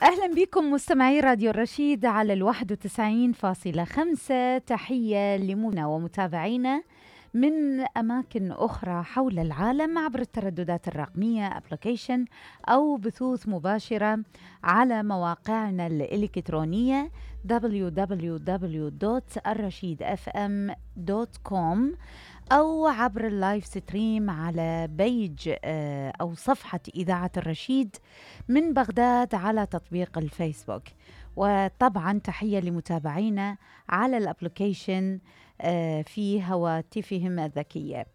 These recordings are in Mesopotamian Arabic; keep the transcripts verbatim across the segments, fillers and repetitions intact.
أهلا بكم مستمعي راديو الرشيد على الواحد وتسعين فاصلة خمسة. تحية لمنا ومتابعينا من أماكن أخرى حول العالم عبر الترددات الرقمية أبليكيشن أو بثوث مباشرة على مواقعنا الإلكترونية دبليو دبليو دبليو دوت الرشيد اف ام دوت كوم أو عبر اللايف ستريم على بيج أو صفحة إذاعة الرشيد من بغداد على تطبيق الفيسبوك. وطبعا تحية لمتابعينا على الابليكيشن في هواتفهم الذكية.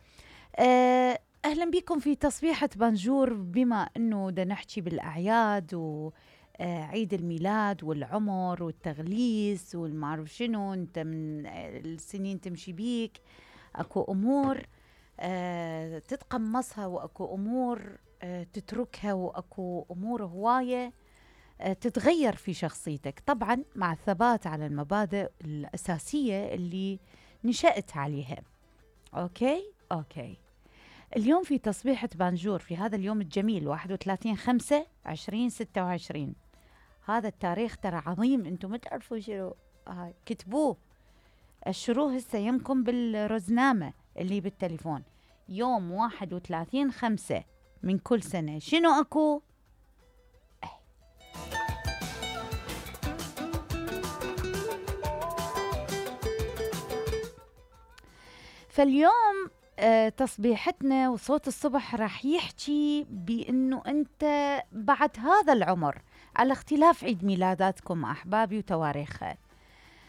أهلا بكم في تصبيحة بانجور، بما أنه دا نحكي بالأعياد وعيد الميلاد والعمر والتغليس والمعروف شنو، انت من السنين تمشي بيك، اكو امور آه تتقمصها واكو امور آه تتركها واكو امور هوايه آه تتغير في شخصيتك، طبعا مع الثبات على المبادئ الاساسيه اللي نشأت عليها. اوكي اوكي اليوم في تصبيحة بانجور في هذا اليوم الجميل واحد وثلاثين خمسة عشرين ستة وعشرين. هذا التاريخ ترى عظيم، انتم ما تعرفوا شنو آه كتبوه، الشروه هسه يمكم بالرزنامة اللي بالتليفون. يوم واحد وثلاثين خمسة من كل سنة شنو أكو؟ أي. فاليوم آه تصبيحتنا وصوت الصبح راح يحكي بأنه أنت بعد هذا العمر، على اختلاف عيد ميلاداتكم أحبابي وتواريخها،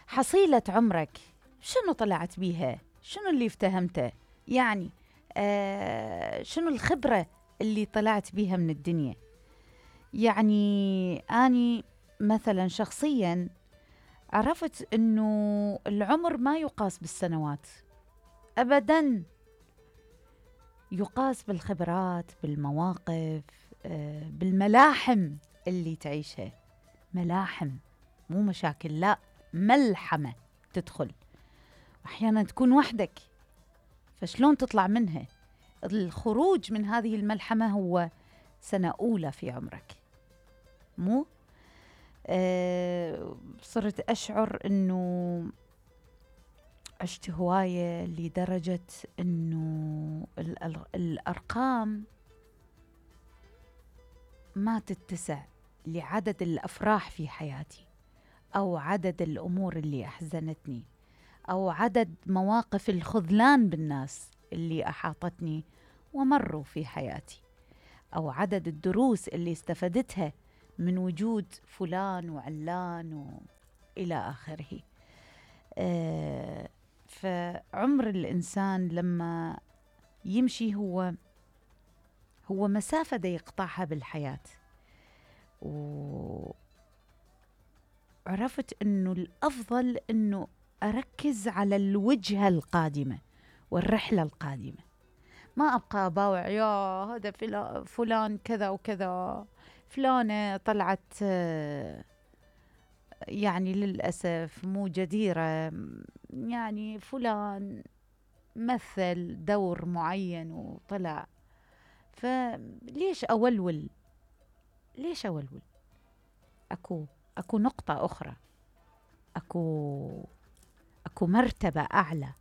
حصيلة عمرك شنو طلعت بيها؟ شنو اللي افتهمته؟ يعني آه شنو الخبرة اللي طلعت بيها من الدنيا؟ يعني أني مثلا شخصيا عرفت أنه العمر ما يقاس بالسنوات أبدا، يقاس بالخبرات، بالمواقف، آه بالملاحم اللي تعيشها. ملاحم مو مشاكل، لا، ملحمة تدخل، أحيانا تكون وحدك، فشلون تطلع منها؟ الخروج من هذه الملحمة هو سنة أولى في عمرك، مو أه صرت أشعر أنه عشت هواية لدرجة أنه الأرقام ما تتسع لعدد الأفراح في حياتي، أو عدد الأمور اللي أحزنتني، أو عدد مواقف الخذلان بالناس اللي أحاطتني ومروا في حياتي، أو عدد الدروس اللي استفدتها من وجود فلان وعلان وإلى آخره. آه فعمر الإنسان لما يمشي هو هو مسافة دا يقطعها بالحياة. وعرفت أنه الأفضل أنه أركز على الوجهة القادمة والرحلة القادمة، ما أبقى أباوع يا هذا فلان كذا وكذا، فلانة طلعت يعني للأسف مو جديرة، يعني فلان مثل دور معين وطلع، فليش أولول؟ ليش أولول؟ أكو أكو نقطة أخرى، أكو أكو مرتبة أعلى،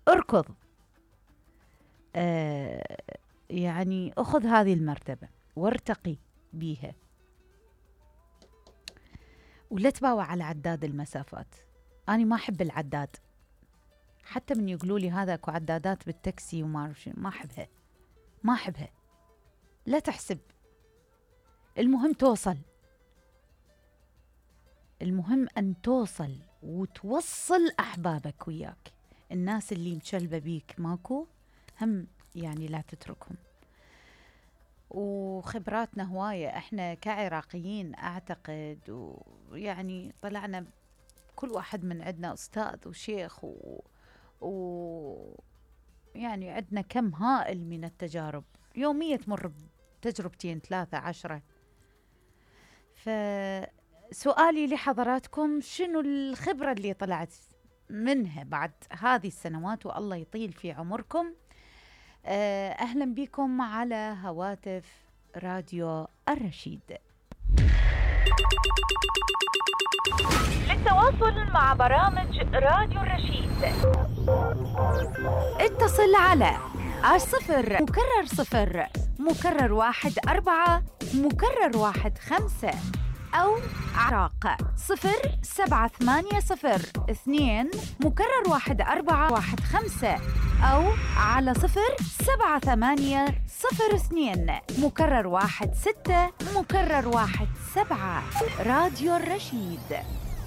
أركض، آه يعني أخذ هذه المرتبة وارتقي بيها، ولا تباوع على عداد المسافات. أنا ما أحب العداد، حتى من يقولوا لي هذا أكو عدادات بالتاكسي وما أعرف شنو، ما أحبها ما أحبها لا تحسب، المهم توصل، المهم أن توصل وتوصل أحبابك وياك، الناس اللي مشلبة بيك ماكو هم يعني لا تتركهم. وخبراتنا هواية احنا كعراقيين اعتقد، ويعني طلعنا كل واحد من عندنا أستاذ وشيخ و, و يعني عندنا كم هائل من التجارب يومية، تمر بتجربتين ثلاثة عشرة. فسؤالي لحضراتكم، شنو الخبرة اللي طلعت منها بعد هذه السنوات والله يطيل في عمركم؟ أهلا بكم على هواتف راديو الرشيد. للتواصل مع برامج راديو الرشيد اتصل على الصفر مكرر صفر مكرر واحد أربعة مكرر واحد خمسة أو عراق صفر سبعة ثمانية صفر اثنين مكرر واحد أربعة واحد خمسة أو على صفر سبعة ثمانية صفر اثنين مكرر واحد ستة مكرر واحد سبعة. راديو الرشيد.